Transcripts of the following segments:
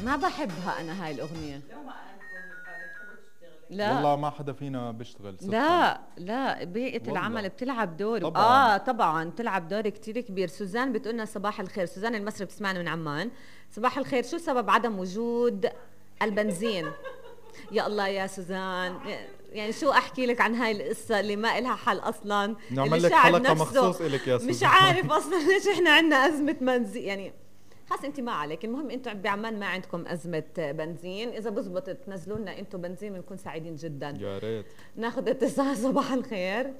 ما بحبها انا هاي الاغنيه. لا والله ما حدا فينا بيشتغل صدقا. لا بيئة العمل بتلعب دور طبعاً. طبعا بتلعب دور كتير كبير. سوزان بتقولنا صباح الخير، سوزان المصري بتسمعنا من عمان. صباح الخير، شو سبب عدم وجود البنزين؟ يا الله يا سوزان، يعني شو احكي لك عن هاي القصه اللي ما إلها حل اصلا. نعمل لك حلقه مخصوص إلك يا سوزان. مش عارف اصلا ليش احنا عندنا ازمه بنزين، يعني خاص انت ما عليك، المهم انتم بعمان ما عندكم ازمه بنزين. اذا بزبط تنزلوا لنا انتم بنزين بنكون سعيدين جدا. يا ريت. ناخذ اتصال. صباح الخير.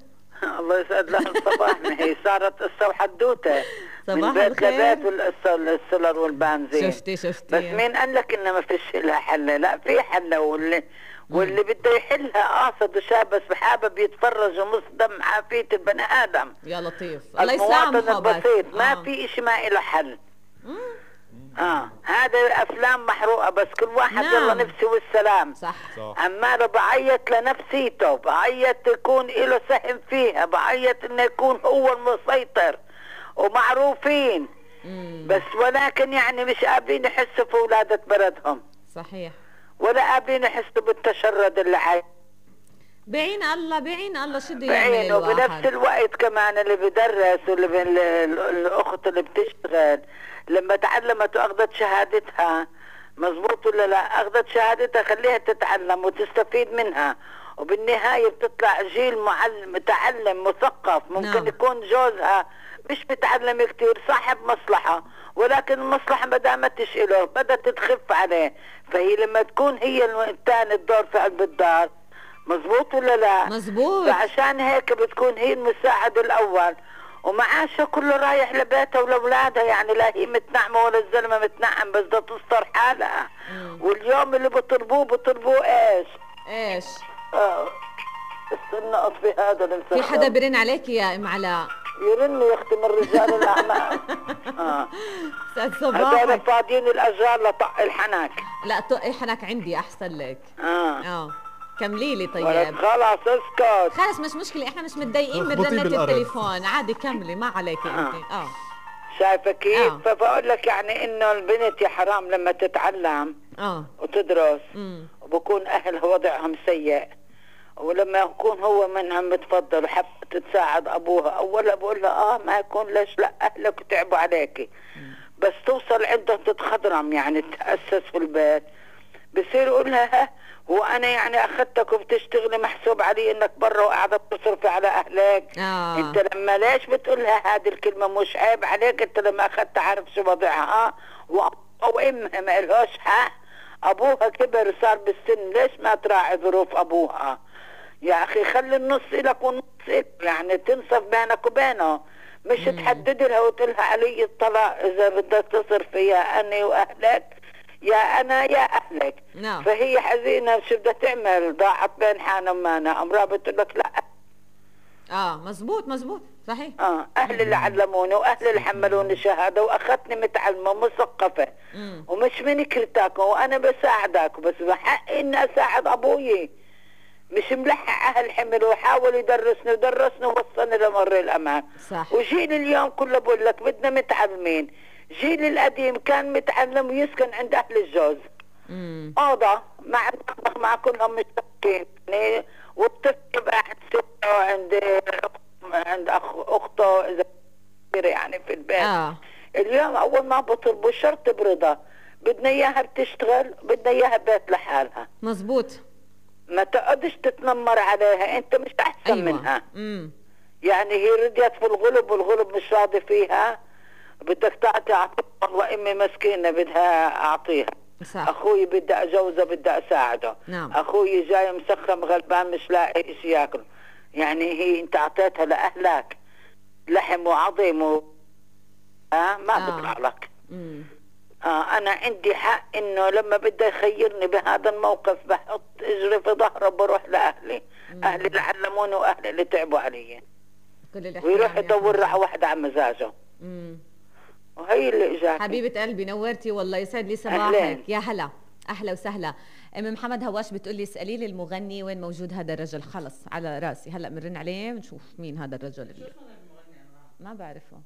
الله يسعد لها الصباح. هي صارت قصه وحدوته صباح من الخير. بيت والقصه السولر والبنزين. شفتي بس مين قال لك انه ما فيش لها حل؟ لا في حل، واللي بده يحلها قاصد وشاب بس حابب يتفرج ومصدم عافيه البني ادم. يا لطيف الله يسامحه. المواطن البسيط ما في شيء ما له حل. هذا افلام محروقه بس كل واحد يلا نفسي والسلام. صح. عماله بعيط لنفسيته، بعيط يكون له سهم فيها، بعيط انه يكون هو المسيطر ومعروفين. بس ولكن يعني مش قابلين يحسوا في ولادة بلدهم. صحيح. ولا قابلين يحسوا بالتشرد اللي عايش. بعين الله شو بده يعمل الواحد. وبنفس الوقت كمان اللي بدرس واللي الاخت اللي بتشتغل لما تعلمت واخذت شهادتها، مزبوط ولا لا؟ اخذت شهادتها خليها تتعلم وتستفيد منها، وبالنهاية بتطلع جيل متعلم مثقف. ممكن يكون جوزها مش متعلم كتير، صاحب مصلحة، ولكن المصلحة ما دامتش له بدأت تخف عليه، فهي لما تكون هي الثاني الدور في قلب الدار. مزبوط ولا لا؟ مزبوط. فعشان هيك بتكون هي المساعد الأول، ومعاشها كله رايح لبيتها ولأولادها، يعني لا هي متنعمة ولا الزلمة متنعم، بس بدها تستر حالها. واليوم اللي بطلبوه ايش؟ استنى اطفي هذا المسخر. في حدا برن عليك يا ام علاء؟ يرن يا اختي من رجال الاعمال. استاذ صباح. هذول فاضيين الاجار لطق الحنك. لا طقي حنك عندي احسن لك. كملي لي طيب. خلاص اسكت. خلص مش مشكله، احنا مش متضايقين من رنة التليفون، عادي كملي ما عليكي انت. شايفه كيف؟ فبقول لك يعني انه البنت يا حرام لما تتعلم وتدرس وبكون اهلها وضعهم سيء، ولما يكون هو منها متفضل وحب تتساعد ابوها، اولا بقول لها ما يكون ليش لا اهلك تعبوا عليكي، بس توصل عندها تتخضرم يعني تأسس في البيت، بصير يقول لها هو انا يعني اخذتك وبتشتغلي محسوب علي انك برا وقاعده بتصرفي على اهلك. انت لما ليش بتقول لها هذه الكلمه؟ مش عيب عليك انت لما اخذتها عارف شو وضعها؟ وامها ما لهاش حق، ابوها كبر صار بالسن، ليش ما تراعي ظروف ابوها؟ يا اخي خلي النص لك والنص لك، يعني تنصف بينك وبينه، مش تحدد لها وتقول لها علي الطلاق اذا بدك تصرفي يا اني واهلك، يا انا يا اهلك. فهي حزينه شو بدها تعمل؟ ضاعت بين حان ومانا، امراه بتقول لك لا. مزبوط صحيح. اهلي اللي علموني واهلي اللي حملوني شهاده واخذتني متعلمه مثقفه ومش من كرتاك، وانا بساعدك، بس بحقي اني اساعد ابوي، مش ملحق اهل حمل وحاول يدرسني ووصلني لمر الامان. صح. وجيل اليوم كله بقول لك بدنا متعلمين. جيل القديم كان متعلم ويسكن عند اهل الجوز اوضه مع كلهم مشتركين، يعني والطفل قاعد عند اخته اذا يعني في البيت. اليوم اول ما بطلبوا شرط برضا، بدنا اياها بتشتغل، بدنا اياها بيت لحالها. مزبوط. ما تقعدش تتنمر عليها، انت مش احسن منها. يعني هي رضيت في الغلب والغلب مش راضي فيها، بدك تعطيها. والله امي مسكينه بدها اعطيها. صح. اخوي بدي اجوزه بدي اساعده. اخوي جاي مسخم غلبان مش لاقي شيء ياكل، يعني هي انت اعطيتها لاهلك لحم وعظيم ما بيطلع لك. انا عندي حق انه لما بده يخيرني بهذا الموقف بحط اجري في ظهره وبروح لاهلي. اهلي اللي علموني واهلي اللي تعبوا علي، ويروح يدور على واحده على مزاجه. وهي اللي اجاك. حبيبه قلبي نورتي والله، يسعد لي صباحك. يا هلا اهلا وسهلا. ام محمد هواش بتقولي اسالي لي المغني وين موجود هذا الرجل. خلص على راسي، هلا بنرن عليه ونشوف مين هذا الرجل اللي ما بعرفه.